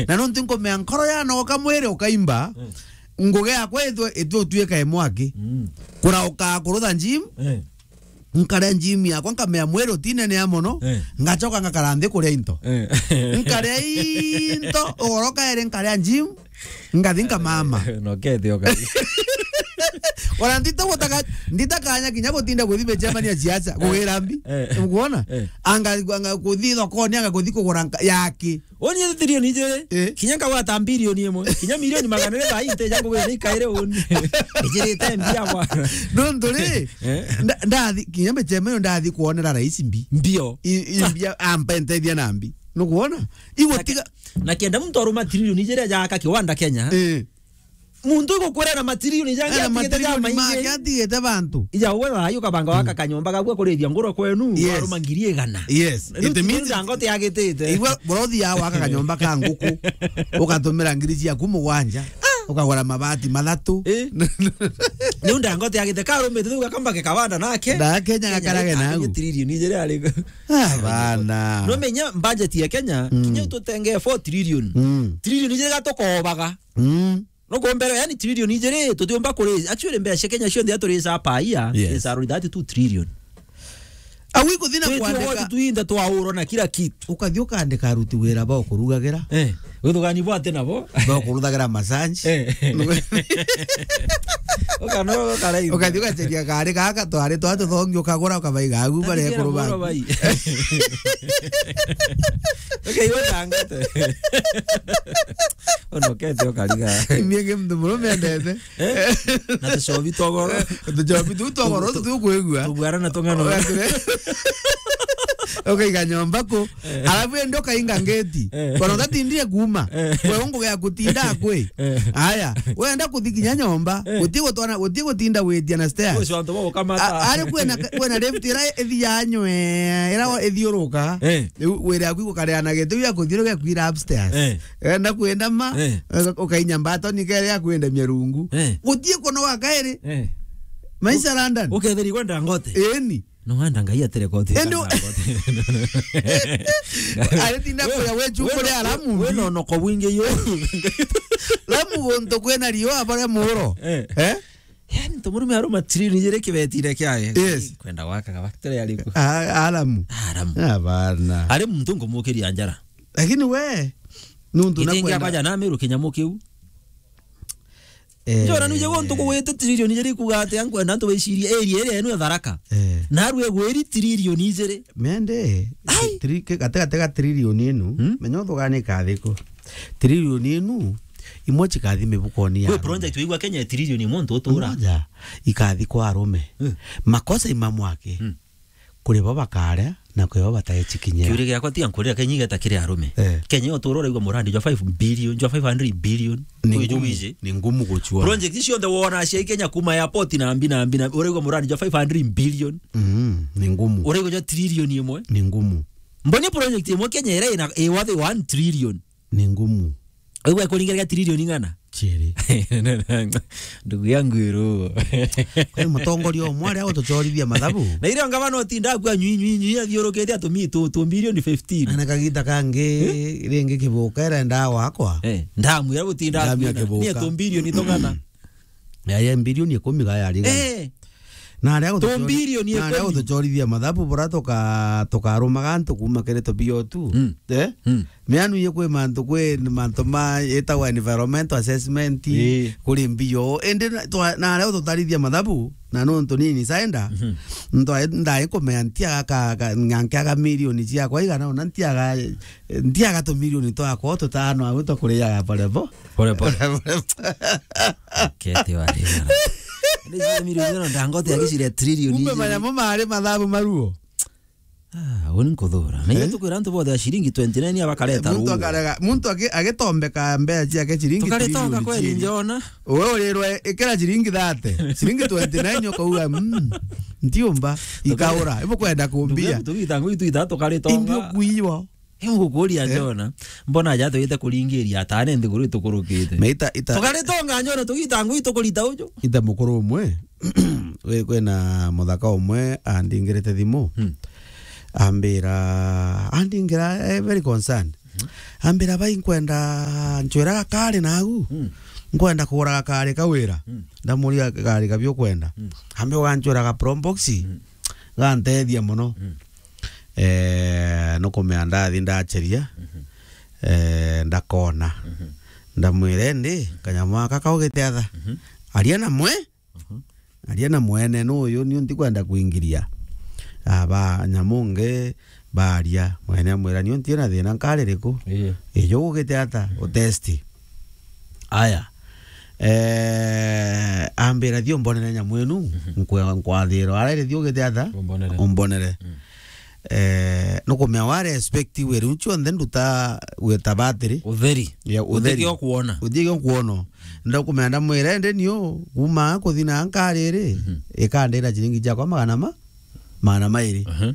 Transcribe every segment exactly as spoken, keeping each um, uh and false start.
Na nontu nkumea nkoro yanogoka mwiri ukaimba, eh, ngugi yakwa itwe, itwe utuika imwaki. Mm. Kurauka kurutha gym, eh, nkaria gym yakwa, nkamea mwiri utinenea mono, eh, ngacoka ngakara nthi kuria into. Eh. Nkaria into, ugoro kairi nkaria gym, ngathi nkamama. Nokete ukathi. Ona ndita gutaka, ndita kanya kinya gutinda guthi micemania siasa, eh, kugira mbi. Eh. Ukuona? Eh. Anga, anga kuthi thokoni, anga kuthi kugura nka-, yaki. Woni tirion ijiri, eh, kinya nkagwata mbirioni imwe, kinya milioni magana iri thaa ii nteja ngugi ni kaire uni. Ijirite mbia bwana. Nontu ri, eh, nda-, ndathi, kinya micemania ndathi kuonera rais mbi. Mbio. I, i mbia, ampe nteithia na mbi. Nukuona? Igutiga. Na ke-, na kenda muntu aruma tirion ijiri ajaka kiwanda Kenya. Eh. Muntu igukwira na matirioni jangi, ena atigite ja matirioni make maingi. Atigite bantu. Ija we thayu ukabanga waka, mm, kanyomba gagua kurithia nguro kwenu, yes, waruma ngiri igana. Yes. Riu it means ndango ti agitite. Igua, bora uthiaga waka kanyomba ka nguku, ukatumira ngiri ciaku mugwanja, ukagura mabati mathatu. Eh. Riu ndango ti agite, karumite thau gakamba kikabanda nake. Na Kenya gakarage na agu. Tirioni ijiri ari. Ah, bana. No menya budget ya Kenya, mm, kinya tutenge four trillion. Mm. Trillion ijiri gatukobaga. Mm. No kumbere, yani, trillion ijiri, tutiumba kuri, actually, mbeca cia Kenya cionthe iria turica per year, yes, is around thirty-two trillion. Au ikuthi na kwandika. Twenty-one tuinda twaurwa na kila kitu. Ukathi ukandika aruti wira ba ukurugagira. Eh, withugani bwate nabo. Ba ukuruthagira massage. Eh. Ukano, ukaraithi. Ukathi ugaceria kari gaka, twari twa tuthongi, ukagura, ukabaiga agu, baria kuru ba. Okay, yo ndangate. Onokete ukariga. Niĩ ngĩ mtu mũrũme endete. Eh? Na tucobi togoro. Tucobi tu togoro, tu-, tu-, tukwigua. Tugwara na tung'ano. Ukaiga nyomba ku. Eh. Alafu ende ukainga ngeti. Eh. Bona utatindire kuma. Eh. We ungu gya kutinda kwi. Eh. Aya, wenda kuthi kinya nyomba, eh, guti gutwana, guti gutinda witia na stairs. Ucio antu bo ukamata. A-, ari kwena, kwena lift ira ithi ya nywe, ira ithiuruka. Eh. Riu wira yaku igukareana giti ya kuthiuruka kwira upstairs. Eh. Wenda kwenda ma, eh, uka-, ukainya mbatoni kere ya kwenda mia rungu. Eh. Gutie kunoga kairi. Eh. Maisha London. Uketheri kwenda ngote. Eni. No wenda Ngai atere koti. Endo. Aritinda kuya we chuko le alamu. We no no ko wingi yo. Lamu gonto kwena rio abare muro. Eh. Eh? Yani, to murume aruma trillion ijiri kibetire kiaye. Yes. Kwenda gwaka factory ariku. Ah, alamu. Alamu. Abana. Ari muntu ngumukiria njara. Lakini we, nuntu na kwenda. Ithenge abaja na miru kinyamu kiu. Eh. Njora nuje gontu kugwite trillion ijiri kuga ati ankwenda antu baicirie area iria enu ya Tharaka. Eh. Narue gwiri trillion ijiri. Mende, ai, tri-, ke-, gate, gate ga trillion inu, hmm? Menya uthuganika thiku. Trillion inu, imwe cikathi mibukoni ya arume. Kwi project wigua Kenya ya trillion imwe ntu utura. Moja, ikathi kwa arume. Hmm. Makosa imamwake. Hmm. Kuri bo bakaria, na kuri bo bataeci kinyira. Kiuria giakwa tiga nkurira Kenya igeta kiri arume. Eh. Kenya utura uraigua murandi jwa five billion, jwa five hundred billion. Ni ngumu, ni ngumu gucua. Project cionthe wona cia Kenya kuma airport na mbi na mbi na, uraigua murandi jwa five hundred billion. Mm, ni ngumu. Uraigua jwa trillion imwe. Ni ngumu. Mboni project imwe Kenya ira ina, i worth one trillion. Ni ngumu. Aigua ikuringaria trillion ing'ana? Chiri. Ndugu yangu iru. Kwani mutongoria umwe aria utuchorithia mathabu? Na irio ngavana utinda akua nywi, nywi, nywi, athiurukitie atumi tu, tu billion fifteen. Ana kagita kangi, eh? Ringi kibuka irenda wakwa. Eh, ndamwira gutinda. Ndamwira akuina. Kibuka. Nie tu billion tung'ana. Ya, ya billion ikumi ga yari igana. Eh. Na aria gutuchori-, tu billion na aria ikumi. Gutuchorithia mathabu bura tuka-, tukarumaga antu kuma kiri tu B O two. Mm. Eh? Mm. Mianu ye kwi mantu, kwi mantu ma itagwa environmental assessment, ii, kuri mbio. Indi na, twa-, na aria ututarithia mathabu, na nontu nini saenda, mhm, ntwa-, ndai kumea ntiaga ka, ka, ngankiaga milioni ciakwa igana, ona ntiaga, ntiaga tu milioni twakwa tutano au tukuriaga pole po-, pole pole. Kete wari. Ni milioni no ndangote agiciria trillion. Kumbe manyamu mari mathabu maruo. Ah, uni nkuthura. Na, eh, iyo tukwira antu bothe a ciringi twenty nine abakareta. Eh, muntu ruo. Akarega, muntu agi-, agitombeka mbeca ciake ciringi tukaretonga trilioni kweli ciiri. Njona. Uwe urirwe ikira ciringi thirty. Ciringi twenty nine ukauga, "Mm, ntiumba, tuka-, ikaura." Ibu kwenda kumbia. Tugitangu itu itatu tukaretonga. Imbio kuiwa. Ibu gukuria, eh, njona. Mbona aja twite kuringiria atane nthiguru itukurukite. Na ita, ita. Tukaretonga njona tugitangwa itukurita uju. Ita mukuru umwe. We, kwina muthaka umwe andingirite thimu. Hmm. Ambira, andingira, eh, very concerned. Ambira, "Bai, nkwenda ncwira gakari nagu. Mm. Nkwenda kugura gakari ka wira." Mm. Ndamuria, "Gakari kabi ukwenda?" Mm. Ambe, "Ugancwira ga Probox." Mm. Gantethia mono. Mm. Eh, nukumea ndathi ndacheria. Mhm. Eh, ndakona. Mhm. Ndamwira, "Indi, kanyamu aka kaugite atha?" Mhm. Aria na mwe. Mhm. Aria na mwene nuyu, niu ntikwenda kuingiria. Aba nyamu ngi baria, mwene amwira, "Niu nti na thina, nkari riku? Ii. Ijo ugite ata?" Mhm. Utesti. Aya. Eh, ambira, "Thio mbonere nyamu inu, mhm, nkwa-, nkwathirwa. Arere, thio ugite ata? Umbonere." Umbonere. Mm. Eh, nukumea wa respect we, riu cionthe nduta gwita batiri. Utheri. Ya, utheri. Utheri okuona. Utheri okuona. Ndakumea ndamwira, "Ende nio, kuma kuthi na nkari iri, mhm, ikandira ciringi ciakwa magana ma-, magana mairi." Mhm.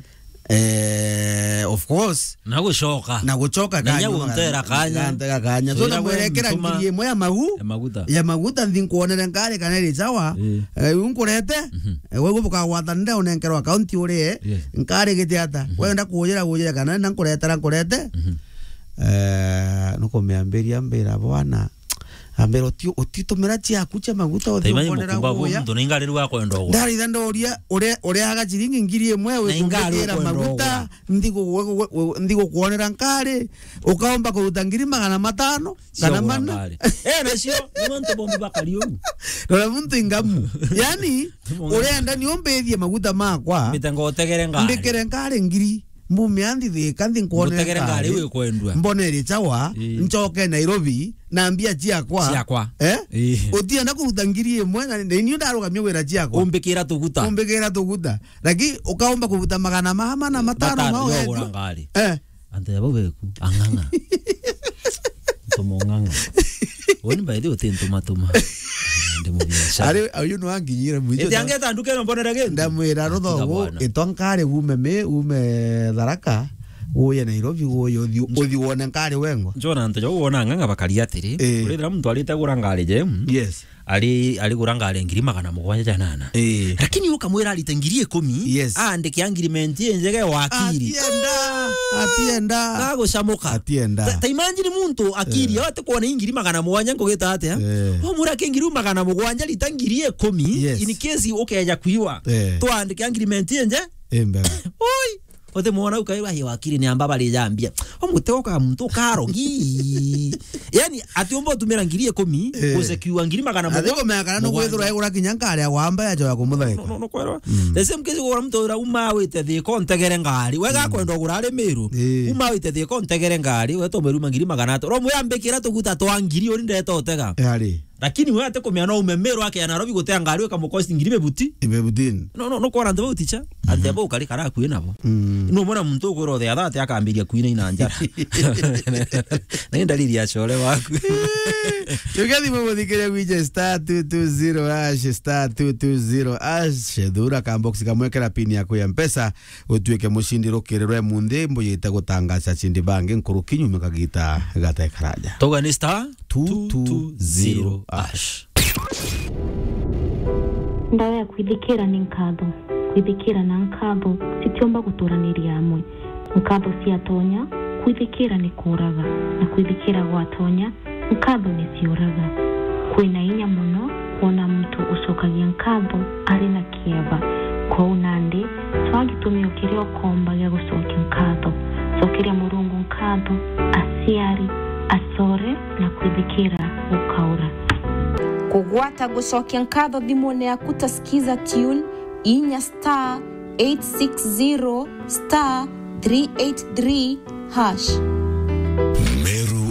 Eh, of course. Na gucoka. Na gucoka na inya kanya, guntera kanya. Gantega kanya. So, ndamwira, "Ekera ngiri imwe ya magu-, ya maguta. Ya maguta, nthi nkuonere nkari kana iri sawa." Ii. Eh, riu nkurete. Mhm. Eh, we gwe bukagwata nde unenkerwa account urie. Yes. Nkari gite ata? Mhm. Wenda kujira, kujira kana na nkuretera, nkurete. Mhm. Eh, nukumiambiria mbira, "Bwana, ambira, uti-, utitumira ciaku cia maguta, uthi umbonera guya." Muntu na ingari riu akwenda ugura. Ndaritha ndoria, uria, uria aga ciringi ngiri imwe, na ingari wikumbikira ukwenda maguta, ugura. Nthi gu-, gu-, gu-, gu-, nthi gukuonera nkari, ukaomba kuruta ngiri magana matano, kana mana. Cia kugura ngari. Eh, nacio, ni mantu bombi bakari uu. Rora muntu ingamu. Yani, urenda ni umbithie maguta makwa. Mbite ngotegere ngari. Mbikire ngari ngiri. Mbumia nthi Thika, nthi nkuonere ngari. Ngutegere ngari iu ikwendua. Mbonere chawa, ii, nchoke Nairobi, na mbia ciakwa. Ciakwa. Eh? Ii. Utienda kuruta ngiri imwe, na, na niu ndarugamia wira ciakwa. Umbikira tuguta. Umbikira tuguta. Lakini ukaomba kuruta magana ma-, mana matano. Matano, mao yo yetu. Ugura ngari. Eh. Antu ya bau beku, ang'ang'a. Ntuma ung'ang'a. Uni by the way, uti ntuma tuma. Ndi mubiashara. Ari, uyu ni wanginyire mwicho. Iti angeta nduka ino mbonere gintu. Ndamwira, "Ruthogu, bwana, itwa nkari ume mi-, ume Tharaka, uye Nairobi, uye uthi, uthi wone nkari wengwa." Njona antu jau wona ang'ang'a bakari atiri. Eh. Urithira muntu arite gura ngari jem. Yes. Ari, ari gura ngari ngiri magana mugwanja ja nana. Ii. Lakini ukamwira arite ngiri ikumi, yes, aandike agreement injega ya wakiri. Atienda, atienda. Gagucamuka. Atienda. Ta, ta imagine muntu akiri, eh, ati kwona ngiri magana mugwanja nkugita atia? Eh. Wamwira ki ngiri magana mugwanja rita ngiri ikumi, yes, in case ukeja kwiwa. Eh. Twandike agreement inje? Imbega. Oi. Uti mwona ukairwa, "Hi wakiri ni amba bari jambia." Omutego ka muntu ukarogi. Yani, ati umba utumira ngiri ikumi, eh, gusekiwa ngiri magana mugwanja. Ati kumenya kana nukwithirwa egura kinya nkari ya wamba ya joya kumuthaika. No, no, no, kwerwa. Mm. The same case, ugura muntu ura uma wite Thika untegere ngari. Wega, mm, kwenda ugura ari Miru. Eh. Uma wite Thika untegere ngari, we to meruma ngiri magana atatu. Ro mwambikira tuguta twa ngiri uri ndeta utega. Yari. Lakini we ati kumenya no ume Miru ake ya Nairobi gutea ngari, ukamukosti ngiri bebuti. Ibebutini. No, no, no, kwona antu bau ticha. Antu, mhm, bau kari kara akui nabo. Mm. No mwana muntu ukwira uthe atha ati akambiria kuina ina njara. Na ni ndariri ya core waku. Tugethi mumuthikiria gwije star two two zero hash, star two two zero hash. Thura ka box kamwe kera pin yaku ya Mpesa, utuike mucindi rukiri rwe munthi, mbuyite gutangaca cindi bangi nkuruki nyuma kagita gatekaraja. Tuga ni star two two zero hash. Ndawa ya kwithikira ni nkatho. Kwithikira na nkatho citiumba guturaniria amwe. Nkatho ciatonya, kwithikira ni kuuraga, na kwithikira gwatonya, nkatho ni ciuraga. Kwina inya mono kwona muntu ucokagia nkatho ari na kieba. Kwou nandi, cwaa gitumi o kiria ukomba gia gucokia nkatho. Cokeria Murungu nkatho, aciari, acore, na kwithikira gukaura. Kugwata gucokia nkatho thimune yaku ta Skiza Tune, inya star eight six zero star three eight three hash. Meru